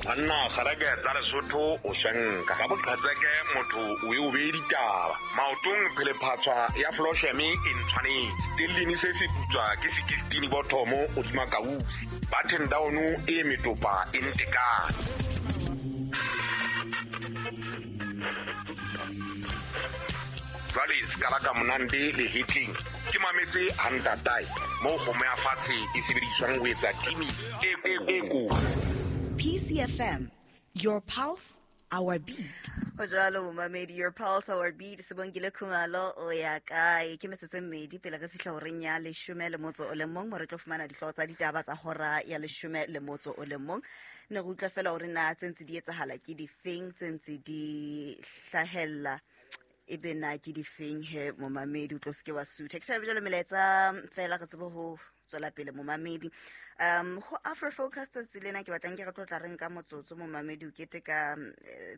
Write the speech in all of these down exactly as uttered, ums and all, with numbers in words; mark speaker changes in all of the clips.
Speaker 1: Banna kgareke tsa Lesotho o shanka ka boqhetseke motho o e o bee ditaba maotong phelephatswa ya flosheme e ntshwanetse stellini se se putswa ke sekistini bothomo hodima kausi button down e metopa e ntekane. Jwale sekala ka monande le hitling ke mametse hantatai mo kgomo ya fatshe e sebediswang ho etsa timi e e ko.
Speaker 2: P C F M, your pulse, our beat.
Speaker 3: Ho jwalo momamedi, your pulse, our beat. Sebongile Khumalo o ya kae? Ke metsotso e mmedi pele re fihla horeng ya leshome le motso o le mong, mo re tlo fumana dihlooho tsa ditaba tsa hora ya leshome le motso o le mong. Ne re utlwa fela hore na tse ntse di etsahala ke difeng, tse ntse di hlahella ebe na ke difeng he momamedi, o tlo seke wa sutha. Ke shebe jwalo melaetsa fela re tsebe ho tswela pele momamedi. Um ho Afro Focus tsatsi lena ke batlang ke re tlo tla reng ka motsotso momamedi o keteka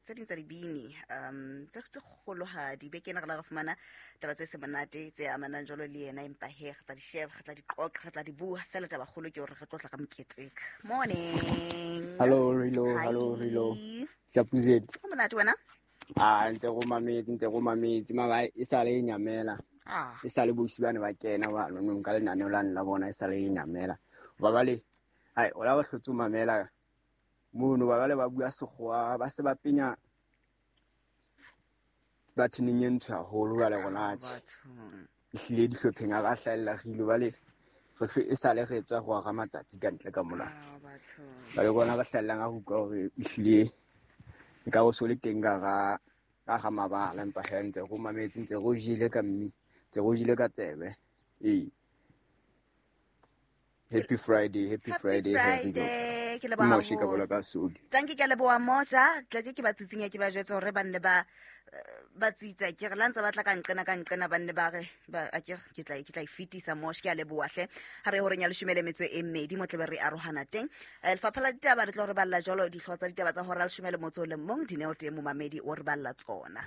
Speaker 3: tse ding tsa dibini um tse tse kgolohadi. Be kena re la re fumana taba tse se monate tse amanang jwalo le yena, empa he re tla di sheba, re tla di qoqa, re tla di bua fela. Taba kgolo ke hore re tlo tla ka moketeka. Morning.
Speaker 4: Hello Rilo, hello Rilo. Shapuzet.
Speaker 3: O monate wena?
Speaker 4: Ah, ntse go mametse, ntse go mametse mara e sale e nyamela.
Speaker 3: Ah.
Speaker 4: E sale bosi bana ba kena ba nong ka lenaneo la nna bona e sale e nyamela. Ba bale ai ola ba hlotse mamela mono ba bale ba bua sekgowa ba se ba penya ba thineng e ntsho haholo ba le rona tje. Ehlile dihlopheng a ba hlahella re ile ba le re e sale re tswa go aga matsatsi ka ntle ka mola. Ba le bona ba hlahellang a utlwa hore ehlile e ka o so le teng ka ga ka ga mabala, empa he ntse go mametse, ntse go jile ka mme ntse go jile ka tsebe. Ee. Happy Friday, happy,
Speaker 3: happy
Speaker 4: Friday,
Speaker 3: Friday. Ke leboha
Speaker 4: Moshe ka bola ka sodi.
Speaker 3: Tanki ke leboha Mosha, tla ke ba tsitsinya ke ba jwetse hore ba nne ba ba tsitsa ke re la ntse ba tla ka nqena ka nqena ba nne ba re ba a ke ke tla ke tla ifitisa Moshe, ke a leboha hle. Ha re horeng ya leshome le metso e mmedi mo tlebe re arohana teng. Lefapha la ditaba re tlo re balla jwalo dihlooho tsa ditaba tsa hora leshome le motso le mong, Dineo teng momamedi o re balla tsona.